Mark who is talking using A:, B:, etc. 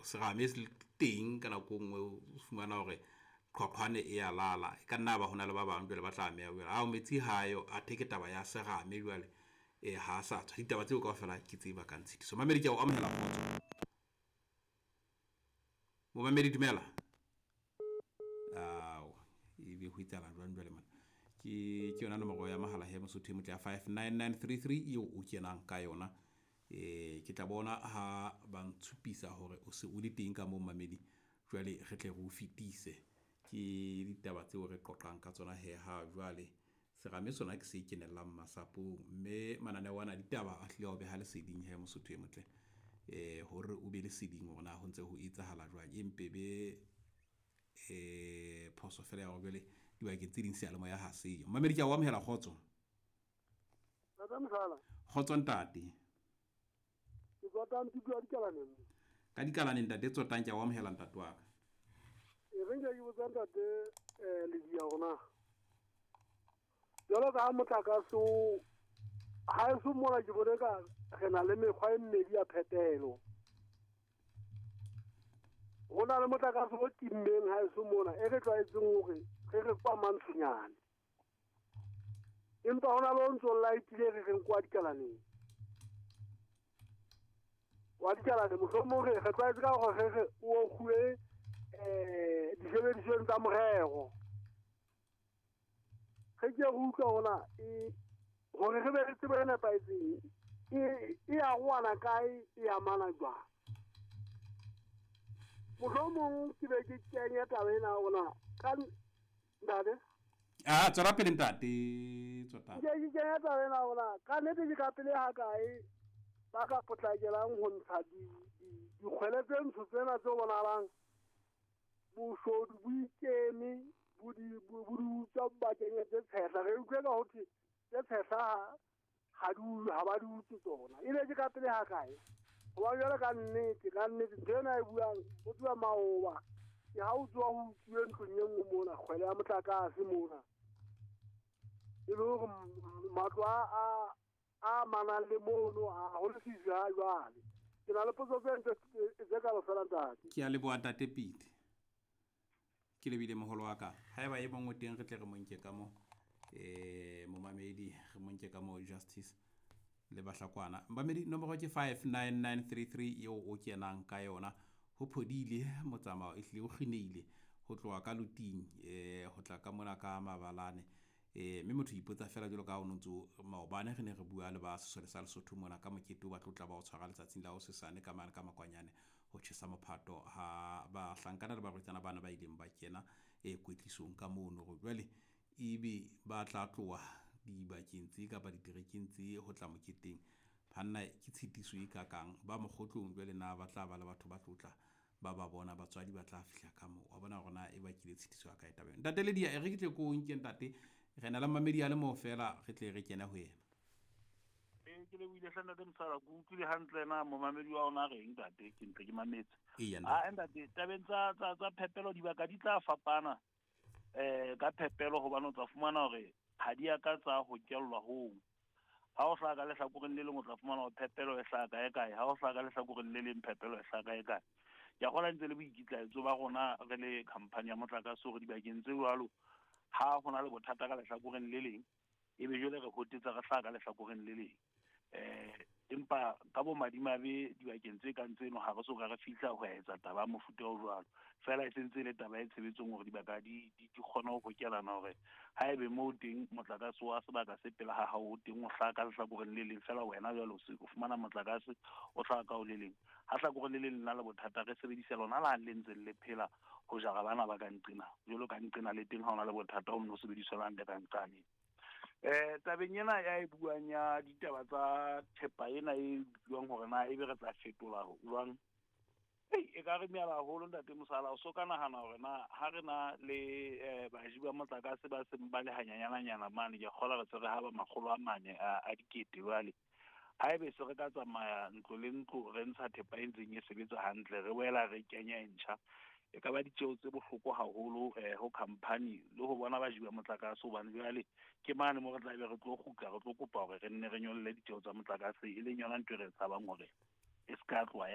A: Serame se teng ka nako e nngwe o fumana hore qhwaqhwane e ya lala. E ka nna ba hona le ba bang jwale ba tla ameha jwale. Ao metsi hayo athe ke taba ya serame jwale ha sa tswa. Ditaba tseo kaofela ke tse bakang tshitiso. Mamedi ke a o amohela kgotso. Momamedi dumela. Ao ebe ho etsahala jwang jwale mona? Ke yona nomoro ya mohala he Mosotho e motle ya 59933 eo o kenang ka yona. Ke tla bona ha ba ntshupisa hore o se o le teng ka moo mamedi, jwale re tle re o fetise. Ke ditaba tseo re qoqang ka tsona he ha jwale. Serame sona ke se kenellang masapong, mme mananeo ana a ditaba a hlile a o beha leseding he Mosotho e motle. Hore o be leseding hore na ho ntse ho etsahala jwang. Empe be phoso fela ya hore jwale dibakeng tse ding seyalemoya ha seyo. Mamedi ke a o amohela kgotso. Kgotso ntate.
B: Ke Tsotang Tutu wa Dikalaneng.
A: Ka Dikalaneng ntate Tsotang ke a o amohela ntate wa ka.
B: E re nke ke botsa ntate Ledia hore na jwalo ka ha motlakase o ha eso mona ke bone ka re na le mekgwa e mmedi ya phepelo. Ho na le motlakase o timmeng ha eso mona e re tlwaetseng hore re re kwa mantshonyane. Empa hona le o ntso light-ile re reng kwa Dikalaneng. Wa Dikalaneng mohlomong re tlwaetse ka hore re re o kguwe disebedisweng tsa morero. Re ke re utlwa hona hore re be le tsebo e nepahetseng e arohana kae, e amana jwang. Mohlomong ke be ke kenya taba ena hore ka ntate.
A: Ah, tswela pele ntate Tsotang.
B: Ke ke kenya taba ena hore ka nnete ke ka pele ha kae ba ka potlakelang ho ntsha dikgwele tse ntsho tsena tse bonahalang boshodu bo ikeme bo di utswa bakeng tse tshehla. Re utlwe ka ho thwe tse tshehla ha di ha ba di utswe tsona. Ebe ke ka pele ha kae? Hoba jwale ka nnete ntho ena e buang o tswa maoba. Ke ha o tswa ho utsuwe ntlong e nngwe mona kgwele ya motlakase mona. E le hore matlo a amanang le mono a ho lefifi ha jwale. Ke na le potso tse ntle tse ka fela ntate.
A: Ke a leboha ntate Pete. Ke lebile moholo wa ka. Haeba e mong o teng re tle re mo nke ka mo momamedi re mo nke ka mo Justice le Bahlakwana. Mamedi nomoro ke 59933 eo o kenang ka yona. Ho phodile motsamao e hlile o kgineile ho tloha ka Luting ho tla ka mona ka Mabalane. Mme motho ipotsa fela jwalo ka ha o ntso maobane re ne re bua le ba sesole sa Lesotho mona ka mokete o ba tlotla ba o tshwara letsatsing la hosesane ka mane ka makwanyane ho tjhesa mophato ha bahlankana le barwetsana bana ba ileng ba kena kwetlisong ka mono. Hore jwale ebe ba tla tloha dibakeng tse kapa diterekeng tse ho tla moketeng. Banna ke tshitiso e kakang ba mokgotlong jwale na ba tla ba le batho ba tlotla ba ba bona batswadi ba tla fihla ka moo. Wa bona hore na e bakile tshitiso ya kae taba ena. Ntate Ledia e re ke tle ko nke ntate re na le mamedi a le moo fela re tle re kene ho yena.
C: Ke lebohile hle ntate Mosala, ke utlwile hantle na momamedi wa ona reng ntate, ke ntse ke mametse.
A: Eya,
C: Ah ntate, tabeng tsa phepelo dibaka di tla fapana ka phepelo hobane o tla fumana hore ha di a ka tsa hokellwa hong. Ha o hlaha ka lehlakoreng le leng o tla fumana hore phepelo e hlaha kae kae, ha o hlaha ka lehlakoreng le leng phepelo e hlaha kae kae. Ke a kgolwa ntse le boikitlaetso ba rona re le company ya motlakase hore dibakeng tse jwalo ha hona le bothata ka lehlakoreng le leng ebe jwale re hotetsa re hlaha ka lehlakoreng le leng. Empa ka bo madimabe dibakeng tse kang tseno ha re so ka re fihla ho etsa taba ya mofuta o jwalo. Fela e sentse e le taba e tshebetsong hore dibaka di kgone ho hokelana hore haebe moo teng motlakase wa sebaka se pela ha hao teng o hlaha ka lehlakoreng le leng, fela wena jwale o fumana motlakase o hlaha ka o le leng. Ha hlakoreng le leng le na le bothata re sebedisa lona la le ntseng le phela ho jara bana ba ka nqena. Jwalo ka nqena le teng ha ona le bothata o nno sebediswa la ntle ka nqane. Tabeng ena ya e buang ya ditaba tsa thepa ena e buang hore na ebe re tla fetola jwang. E ka re meala haholo ntate Mosala, o so ka nahana hore na ha re na le baji ba motlakase ba seng ba le hanyanyananyana mane, ke a kgolwa re se re ha ba 400 a dikete jwale. Haebe se re ka tsamaya ntlo le ntlo re ntsha thepa e ntseng e sebetsa hantle, re boela re kenya e ntjha, e ka ba ditjeo tse bohloko haholo ho company le ho bona baji ba motlakase, hobane jwale ke mane mo re tla be re tlo kgutla re tlo kopa hore re nne re nyolle ditjeo tsa motlakase, e leng yona ntho e re tshabang hore e se ka tloha.